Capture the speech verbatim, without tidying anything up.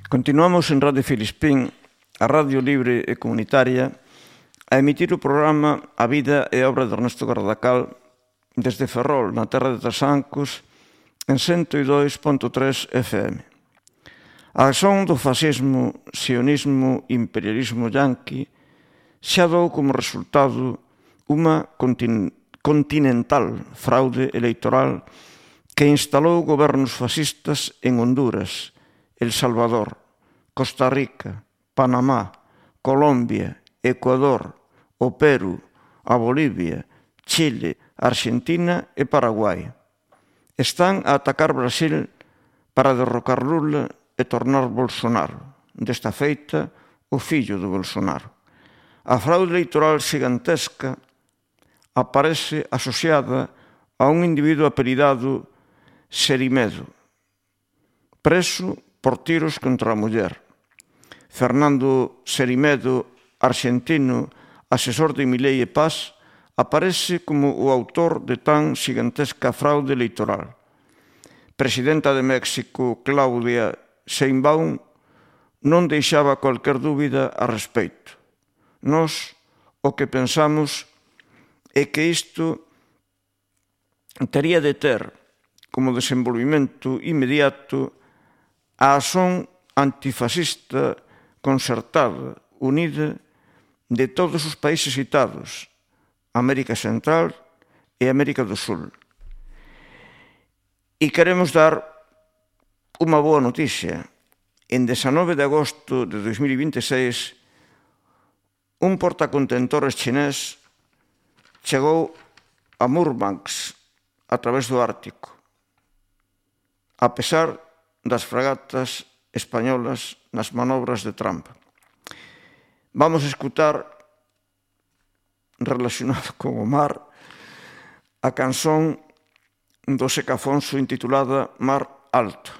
Continuamos en Radio Filispín, a radio libre e comunitaria, a emitir o programa A vida e obra de Ernesto Gardacal desde Ferrol, na terra de Trasancos, en cento e dois punto tres F M. A acción do fascismo, sionismo e imperialismo yanqui xa dou como resultado unha continu- continental fraude electoral que instalou gobernos fascistas en Honduras, El Salvador, Costa Rica, Panamá, Colombia, Ecuador, o Perú, a Bolivia, Chile, Argentina e Paraguai. Están a atacar Brasil para derrocar Lula e tornar Bolsonaro, desta feita, o fillo de Bolsonaro. A fraude electoral xigantesca aparece asociada a un individuo apelidado Serimedo, preso por tiros contra a muller. Fernando Serimedo, arxentino, asesor de Milei e Paz, aparece como o autor de tan xigantesca fraude electoral. Presidenta de México, Claudia Sheinbaum, non deixaba cualquier dúbida a respeito. Nós o que pensamos é que isto tería de ter como desenvolvimento inmediato a acción antifascista concertada, unida, de todos os países citados, América Central e América do Sul. E queremos dar unha boa noticia. En dezanove de agosto de dos mil e vinte e seis, un portacontentores chinés chegou a Murmansk a través do Ártico, a pesar das fragatas españolas nas manobras de Trump. Vamos a escutar, relacionado con o mar, a canción do Seca Afonso intitulada Mar Alto.